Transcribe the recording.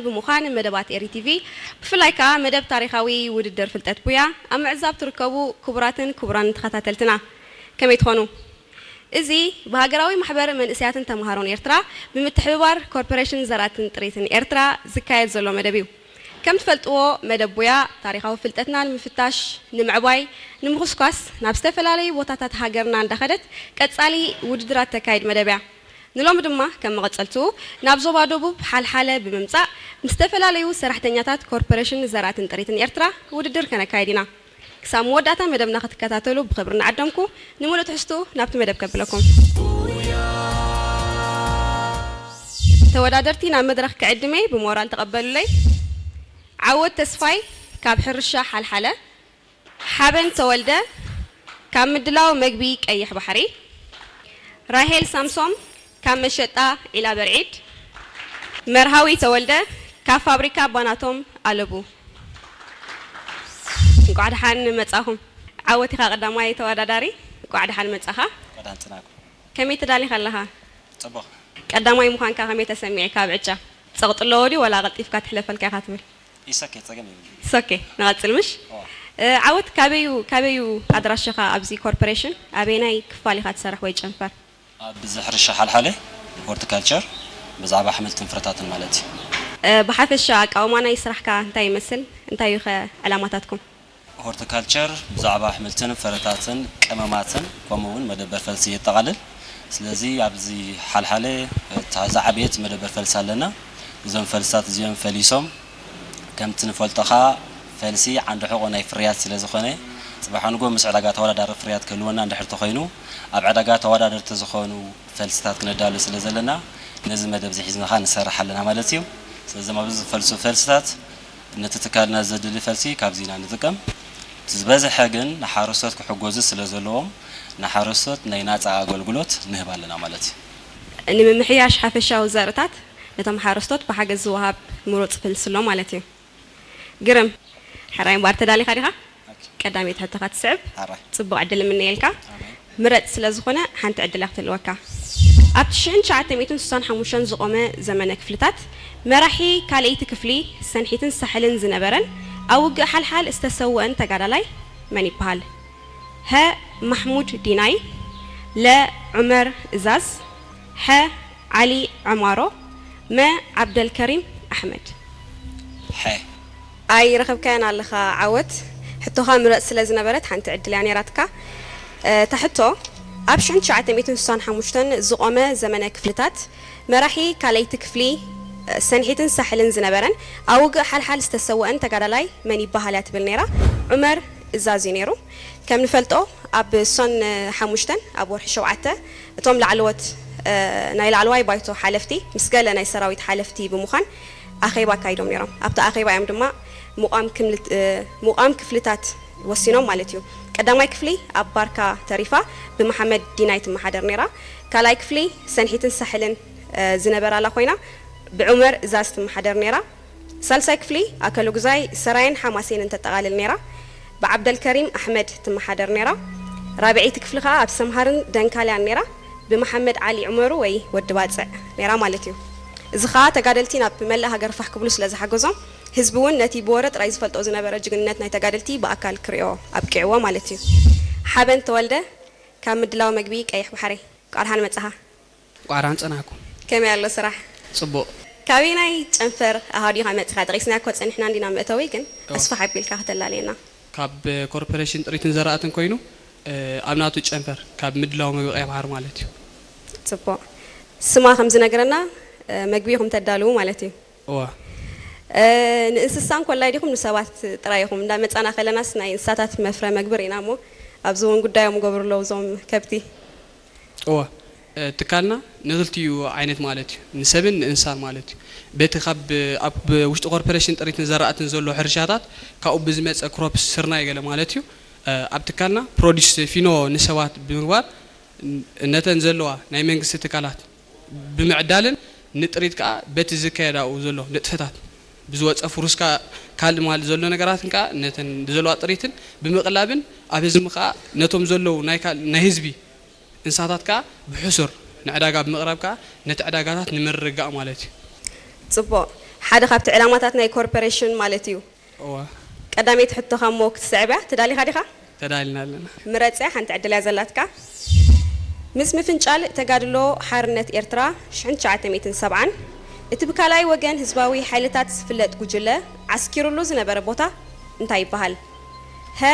ብምዃን መደባት ኤሪ ቲቪ፣ ብፍላይ ከኣ መደብ ታሪኻዊ ውድድር ፍልጠት ቡያ ኣብ ምዕዛብ ትርከቡ ክቡራትን ክቡራን ተኸታተልትና፣ ከመይ ትኾኑ? እዚ ብሃገራዊ ማሕበር መንእሰያትን ተምሃሮን ኤርትራ ብምትሕብባር ኮርፖሬሽን ዘራእትን ጥሪትን ኤርትራ ዝካየድ ዘሎ መደብ እዩ። ከም ትፈልጥዎ፣ መደብ ቡያ ታሪኻዊ ፍልጠትና ንምፍታሽ፣ ንምዕባይ፣ ንምኹስኳስ ናብ ዝተፈላለዩ ቦታታት ሃገርና እንዳኸደት ቀጻሊ ውድድራት ተካይድ መደብ እያ። ንሎሚ ድማ ከም መቐጸልትኡ ናብ ዞባ ደቡብ ሓልሓለ ብምምጻእ ምስ ዝተፈላለዩ ሰራሕተኛታት ኮርፖሬሽን ዘራእትን ጥሪትን ኤርትራ ውድድር ከነካይድ ኢና። ክሳብ መወዳእታ መደብና ክትከታተሉ ብኽብሪ እናዓደምኩ፣ ንምሉእ ትሕዝትኡ ናብቲ መደብ ከብለኩም። ተወዳደርቲ ናብ መድረኽ ክዕድመይ ብሞራል ተቐበሉለይ። ዓወት ተስፋይ ካብ ሕርሻ ሓልሓለ፣ ሓበን ተወልደ ካብ ምድላው መግቢ ቀይሕ ባሕሪ፣ ራሄል ሳምሶም ካብ መሸጣ ዒላ በርዒድ፣ መርሃዊ ተወልደ ካብ ፋብሪካ ባናቶም ኣለቡ። እንቋዕ ደሓን መጻኹም። ዓወት ኢኻ ቀዳማይ ተወዳዳሪ፣ እንቋዕ ደሓን መጻኻ። ቀዳም ጽናኩ። ከመይ ተዳሊኻ ኣለኻ? ጽቡቕ። ቀዳማይ ምዃንካ ከመይ ተሰሚዕካ ኣብ ዕጫ? ጸቕጢ ኣለዎ ድዩ ወላ ቀልጢፍካ ትሕለፈልካ ኢኻ ትብል? ኢሰኬ ጸገም የብሉ። ኢሰኬ፣ ንቐጽል ምሽ? ኦ። እ፣ ዓወት ካበዩ፣ ካበዩ ኣድራሽኻ ኣብዚ ኮርፖሬሽን? ኣበየናይ ክፋል ኢኻ ትሰርሕ ወይ ጨንፈር? ኣብዚ ሕርሻ ሓልሓለ ሆርቲካልቸር ብዛዕባ ኣሕምልትን ፍረታትን ማለት እዩ። እ፣ ብሓፈሻ ኣቃውማ ናይ ስራሕካ እንታይ ይመስል? እንታይ እዩ ኸ ዕላማታትኩም? ሆርቲካልቸር ብዛዕባ ኣሕምልትን ፍረታትን ቀመማትን ከምኡ እውን መደበር ፈልሲ የጠቓልል። ስለዚ ኣብዚ ሓልሓለ እታ ዝዓበየት መደበር ፈልሲ ኣለና። እዞም ፈልስታት እዚኦም ፈሊሶም ከምቲ ንፈልጦ ኸኣ ፈልሲ ዓንዲ ሕቖ ናይ ፍርያት ስለ ዝኾነ፣ ጽባሕ ንግሆ ምስ ዕዳጋ ተወዳዳሪ ፍርያት ክህልወና እንድሕር ተኾይኑ፣ ኣብ ዕዳጋ ተወዳደርቲ ዝኾኑ ፈልስታት ክነዳሉ ስለ ዘለና፣ ነዚ መደብ እዚ ሒዝና ኸኣ ንሰርሕ ኣለና ማለት እዩ። ስለዚ ኣብዚ ዝፈልሱ ፈልስታት ነቲ ትካልና ዘድሊ ፈልሲ ካብዚ ኢና ንጥቀም። እቲ ዝበዝሐ ግን ንሓረስቶት ክሕገዙ ስለ ዘለዎም፣ ንሓረስቶት ናይ ናጻ ኣገልግሎት ንህብ ኣለና ማለት እዩ። ንምምሕያሽ ሓፈሻዊ ዘርእታት ነቶም ሓረስቶት ብሓገዝ ዝወሃብ ምሩጽ ፈልሲ ኣሎ ማለት እዩ። ግርም። ሕራይ እምበኣር ተዳሊኻ ዲኻ? ቀዳመይቲ ሕቶኻ ትስዕብ። ሕራይ። ጽቡቕ ዕድል እምነየልካ። ኣሜን። ምረጽ ስለ ዝኾነ ሓንቲ ዕድል እያ ክትህልወካ። ኣብ ትሽዓተ ሚእትን ስሳን ሓሙሽተን ዝቖመ ዘመነ ክፍልታት መራሒ ካልኣይቲ ክፍሊ ሰንሒትን ሳሕልን ዝነበረን ኣብ ውግእ ሓልሓል ዝተሰወአን ተጋዳላይ መን ይበሃል? ሀ ማሕሙድ ዲናይ፣ ለ ዑመር እዛዝ፣ ሐ ዓሊ ዐማሮ፣ መ ዓብደልከሪም ኣሕመድ። ሐ። ኣይ ረኸብካያን ኣለኻ ዓወት። ሕቶኻ ምረጽ ስለ ዝነበረት ሓንቲ ዕድል እያ ነይራትካ። እ፣ እታ ሕቶ፣ ኣብ ሽሕን ትሽዓተ ሚእትን ስሳን ሓሙሽተን ዝቖመ ዘመነ ክፍልታት መራሒ ካልኣይቲ ክፍሊ፣ እ፣ ሰንሒትን ሳሕልን ዝነበረን ኣብ ውግእ ሓልሓል ዝተሰወአን ተጋዳላይ መን ይበሃል እያ ትብል ነይራ። ዑመር እዛዝ እዩ ነይሩ። ከም ንፈልጦ ኣብ ሶን ሓሙሽተን ኣብ ወርሒ ሸውዓተ እቶም ላዕለዎት፣ እ፣ ናይ ላዕለዋይ ባይቶ ሓለፍቲ ምስ ገለ ናይ ሰራዊት ሓለፍቲ ብምዃን ኣኼባ ኣካይዶም ነይሮም። ኣብቲ ኣኼባ እዮም ድማ ምቋም ክምልት-፣ እ፣ ምቋም ክፍልታት ወሲኖም ማለት እዩ። ቀዳማይ ክፍሊ ኣብ ባርካ ተሪፋ ብመሓመድ ዲናይ ትመሓደር ነይራ። ካልኣይ ክፍሊ ሰንሒትን ሳሕልን፣ እ፣ ዝነበራላ ኮይና ብዑመር እዛዝ ትመሓደር ነይራ። ሳልሳይ ክፍሊ ኣከለጉዛይ ሰራየን ሓማሴንን ተጠቓልል ነይራ። ብዓብደልከሪም ኣሕመድ ትመሓደር ነይራ። ራብዐይቲ ክፍሊ ከኣ ኣብ ሰምሃርን ደንካልያን ነይራ። ብመሓመድ ዓሊ ዑመሩ ወይ ወዲ ባጽዕ ነይራ ማለት እዩ። እዚ ከኣ ተጋደልቲ ናብ መላእ ሃገር ፋሕ ክብሉ ስለ ዝሓገዞም፣ ህዝቢ እውን ነቲ ብወረ ጥራይ ዝፈልጦ ዝነበረ ጅግንነት ናይ ተጋደልቲ ብኣካል ክርእዮ ኣብቂዕዎ ማለት እዩ። ሓበን ተወልደ ካብ ምድላው መግቢ ቀይሕ ባሕሪ፣ እንቋዕ ደሓን መጻኻ። እንቋዕ ደሓን ጸናሕኩም። ከመይ ኣሎ ስራሕ? ጽቡቕ። ካበየናይ ጨንፈር ኣሃዱ ኢኻ መጺኻ? ጠቒስናዮ እኮ ጸኒሕና እንዲና መእተዊ፣ ግን እወ። ኣስፍሕ ኣቢልካ ከተላልየና። ካብ ኮርፖሬሽን ጥሪትን ዘራእትን ኮይኑ፣ እ፣ ኣብ ናቱ ጨንፈር፣ ካብ ምድላው መግቢ ቀይሕ ባሕሪ ማለት እዩ። ጽቡቕ። ስማ ከም ዝነግረና፣ እ፣ መግቢ ኢኹም ተዳልዉ ማለት እዩ። እወ። እ፣ ንእንስሳ እንኮላይ ዲኹም ንሰባት ጥራይ ኢኹም? እንዳ መጻና ከለናስ ናይ እንስሳታት መፍረ መግቢ ርኢና እሞ፣ ኣብዚ እውን ጉዳዮም ገብሩ ኣለዉ እዞም ከብቲ። እወ፣ እ፣ ትካልና ንክልቲኡ ዓይነት ማለት እዩ፣ ንሰብን ንእንስሳን ማለት እዩ። በቲ ካብ፣ ኣብ ውሽጢ ኮርፖሬሽን ጥሪትን ዘራእትን ዘሎ ሕርሻታት ካብኡ ብዝመጸ ክሮፕስ ስርናይ ገለ ማለት እዩ። እ፣ ኣብ ትካልና ፕሮዲስ ፊኖ ንሰባት ብምግባር ን-፣ ነተን ዘለዋ ናይ መንግስቲ ትካላት ብምዕዳልን ንጥሪት ከኣ በቲ ዝካየድ ኣብኡ ዘሎ ንጥፈታት ብዝወጸ ፍሩስካ ካልእ ማል ዘሎ ነገራትን ከኣ ነተን ዘለዋ ጥሪትን ብምቕላብን ኣብ ህዝቢ ከኣ ነቶም ዘለዉ ናይ ካል-፣ ናይ ህዝቢ እንስሳታት ከኣ ብሕሱር ንዕዳጋ ብምቕራብ ከኣ ነቲ ዕዳጋታት ንምርግጋእ ማለት እዩ። ጽቡቕ። ሓደ ካብቲ ዕላማታት ናይ ኮርፖሬሽን ማለት እዩ። እዋ ቀዳመይቲ ሕቶኻ እሞ ክትስዕብ እያ። ተዳሊኻ ዲኻ? ተዳልና ኣለና። ምረጽ እያ፣ ሓንቲ ዕድል እያ ዘላትካ። ምስ ምፍንጫል ተጋድሎ ሓርነት ኤርትራ ሽሕን ትሽዓተ ሚእትን ሰብዓን እቲ ብካልኣይ ወገን ህዝባዊ ሓይልታት ዝፍለጥ ጉጅለ ዓስኪሩሉ ዝነበረ ቦታ እንታይ ይበሃል? ሀ